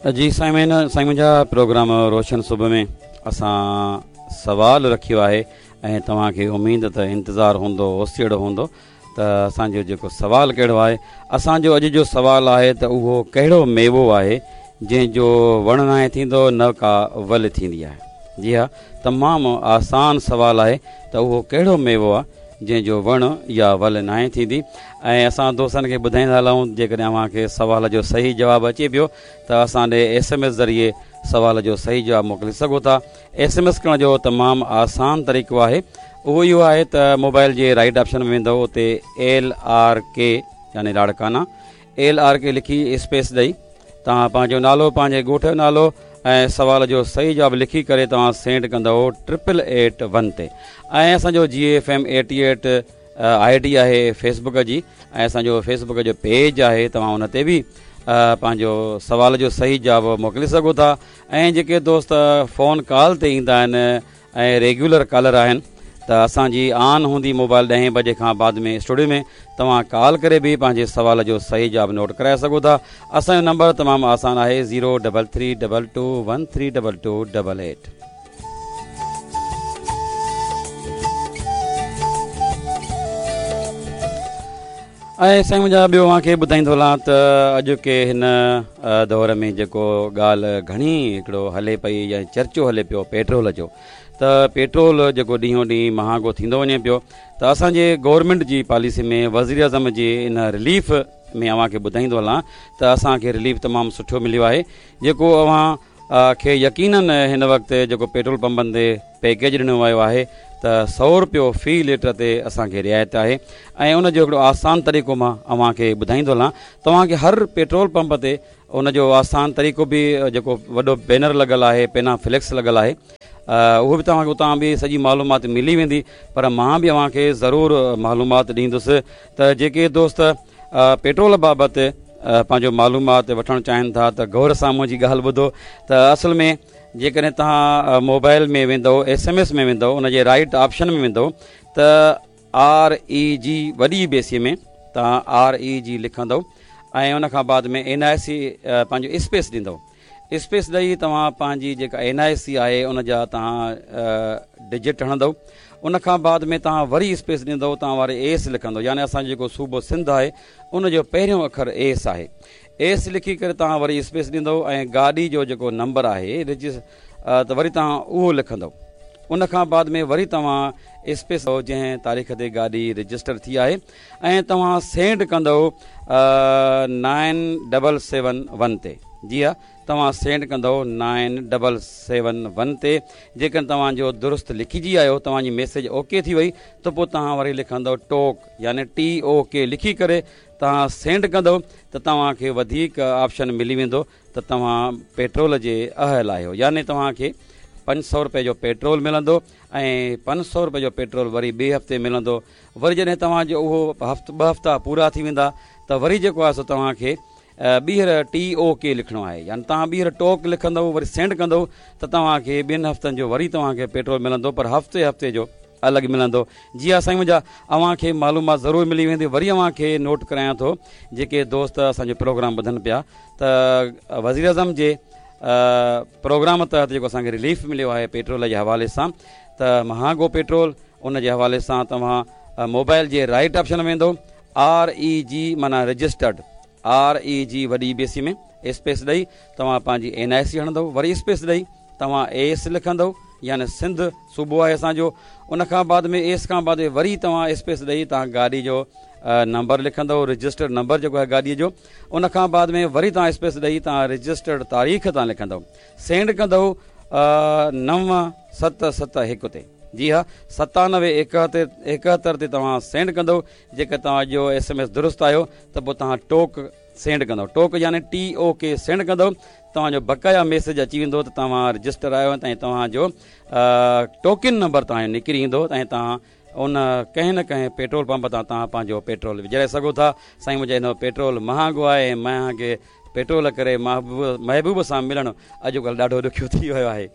جي سائين سائين منهنجا پروگرام روشن صبح ۾ اسان سوال رکيو آهي ۽ توهان کي اميد ته انتظار هوندو اوسيئڙو هوندو ته اسان جو جيڪو سوال ڪهڙو آهي اسان جو اڄ جو سوال آهي ته اهو ڪهڙو ميوو آهي جنهن جو وڻ ناهي ٿيندو نه ڪا ول ٿيندي آهي جي ها تمام آسان سوال آهي ته اهو ڪهڙو ميوو آهي جنهن جو وڻ يا ول ناهي ٿيندي ۽ اسان دوستن کي ٻڌائيندا هلون جيڪڏهن اوهان کي سوال جو صحيح جواب اچي پيو ته اسان ڏي ايس ايم ايس ذريعي سوال جو صحيح جواب موڪلي سگهو ٿا ايس ايم ايس ڪرڻ جو تمام آسان طريقو آهي اهو اهو آهي ته موبائل جي رائيٽ آپشن ۾ ويندو اتي ايل آر ڪي يعني لاڙڪانا ايل آر ڪي لکي اسپيس ڏئي توهان پنهنجو نالو پنهنجي ڳوٺ جو نالو ۽ سوال جو صحيح جواب لکي ڪري توهان سينڊ ڪندؤ ٽرپل ايٽ ون تي ۽ اسان جو جي F M eighty eight I D آهي فيس بڪ جي ۽ اسان جو فيس بڪ جو پيج آهي توهان ان تي به پنهنجو سوال جو صحيح جواب موڪلي سگهو ٿا ۽ جيڪي دوست فون ڪال تي ايندا آهن ۽ ريگيولر ڪالر آهن ته اسان جي آن هوندي موبائل ڏهين بجي کان بعد ۾ اسٽوڊيو ۾ توهان ڪال ڪري به پنهنجي سوال جو صحيح جواب نوٽ ڪرائي سگهو ٿا اسان جو نمبر تمام آسان آهي zero double three double two one three double two double eight. ۽ سائين منهنجا ٻيو اوهان کي ٻڌائيندو هلان ته اڄوڪي هن دور ۾ جيڪو ڳالهه گهڻي هڪڙو هلي پئي يا چرچو هلي پيو پيٽرول جو ته پيٽرول جيڪو ڏينهون ڏينهن مهانگو ٿيندو وڃي پيو ته اسان جي گورنمينٽ جي پاليسي ۾ وزير اعظم جي ان رليف ۾ اوهان کي ٻڌائيندو هلان ته اسان کي رليف تمام سٺو مليو آهي جيڪو اوهان کي يقينن هن وقت جيڪو پيٽرول پمپن تي پيڪيج ڏنو ويو آهي ته سئو روپيو في ليٽر تي اسان کي رعايت آهي ۽ ان جو هڪڙو آسان طريقو مان اوهان کي ٻڌائيندو هلان توهان کي هر پيٽرول پمپ تي ان جو آسان طريقو به جيڪو وڏو بينر لڳل آهي پينا فليڪس لڳل آهي اهو به توهان کي اتان به سڄي معلومات ملي ويندي پر مان به اوهان کي ضرور معلومات ڏيندس ته جيڪي دوست پيٽرول بابت پنهنجو معلومات وٺڻ چاهين ٿا ته غور سان منهنجي ڳالهه ٻڌو ته اصل ۾ جيڪڏهن توهان موبائل ۾ ويندو ايس ايم ايس ۾ ويندو ان جي رائٽ آپشن ۾ ويندو ته آر اي جي وڏي بيسي ۾ توهان آر اي جي لکندو ۽ ان کان بعد ۾ اين آء سي پنهنجو اسپيس ڏيندو اسپيس ڏئي توهان پنهنجي جيڪا اين آء سي آهي ان جا توهان ڊجٽ هڻندو ان کان بعد ۾ توهان وري اسپيس ڏيندو توهان واري ايس لکندو يعني اسان جو جيڪو صوبو سنڌ آهي ان جو پهريون اکر ايس آهي ايس لکي ڪري توهان وري اسپيس ڏيندو ۽ گاڏي جو جيڪو نمبر آهي رجس ته وري توهان اهو لکندو ان کان بعد ۾ وري توهان اسپيس جنهن تاريخ تي گاڏي رجسٽر ٿي آهي ۽ توهان سينڊ ڪندؤ نائن ڊبل سيون ون تي جي ها توهان سينڊ ڪندؤ نائن ڊبل سيون ون تي جيڪڏهن توهان جو درست لکجي آيو توهان جي ميسيج اوڪي ٿي وئي ته پوء توهان وري لکندؤ ٽوڪ يعني ٽي او ڪي لکي ڪري توهان سينڊ ڪندؤ ته توهان کي وڌيڪ آپشن ملي ويندو ته توهان پيٽرول جي اهل آهيو يعني توهان کي 500 روپئي جو پيٽرول ملندو ۽ 500 روپئي جو پيٽرول وري ٻئي هفتي ملندو وري جڏهن توهان جو اهو هفت ٻه هفتا پورا ٿي ويندا ته وري جيڪو آهي سو توهان کي ٻيهر ٽي او ڪي لکڻو آهي يعني توهان ٻيهر ٽوڪ لکندؤ وري سينڊ ڪندؤ ته توهان کي ٻن هفتن جو وري توهان کي پيٽرول ملندو پر هفتي هفتي جو الڳ ملندو جي ها سائين منهنجا اوهان کي معلومات ضرور ملي ويندي وري اوهان کي نوٽ ڪرايان ٿو جيڪي دوست اسان جو پروگرام ٻڌن پيا ته وزير اعظم جي پروگرام تحت جيڪو اسان کي رليف مليو آهي پيٽرول جي حوالي سان ته مهانگو پيٽرول ان جي حوالي سان توهان موبائل جي رائيٽ آپشن ۾ ويندو آر اي جي معنيٰ رجسٽرڊ آر اي جي وڏي بي سي ۾ اسپيس ڏئي توهان پنهنجي اين آء سي هڻندو وري اسپيس ڏئي توهان ايس لکندو يعني سنڌ صوبو آهي اسان جو ان کان بعد ۾ ايس کان بعد وري توهان اسپيس ڏئي توهان گاڏي جو نمبر لکندو رجسٽرڊ نمبر جيڪو آهي گاڏي جو ان کان بعد ۾ وري توهان اسپيس ڏئي توهان رجسٽرڊ تاريخ تان لکندو سينڊ ڪندو 9 7 7 1 تي جي ها 97 71 تي توهان سينڊ ڪندو جيڪر توهان جو ايس ايم ايس درست آيو ته پوء توهان ٽوڪ سينڊ ڪندو ٽوڪ يعني ٽي او ڪي سينڊ ڪندو توهان جو بقايا ميسيج اچي ويندو ته توهان رجسٽر آهيو ۽ توهان جو ٽوڪن نمبر توهان جو نڪري ايندو ۽ توهان ان ڪنهن نه ڪنهن پيٽرول پمپ تان توهان پنهنجو پيٽرول وجهرائي سگهو ٿا سائين منهنجا هن پيٽرول مهانگو آهي ۽ مهانگي پيٽرول ڪري محبوب سان ملڻ اڄڪلهه ڏاڍو ڏکيو ٿي ويو آهي.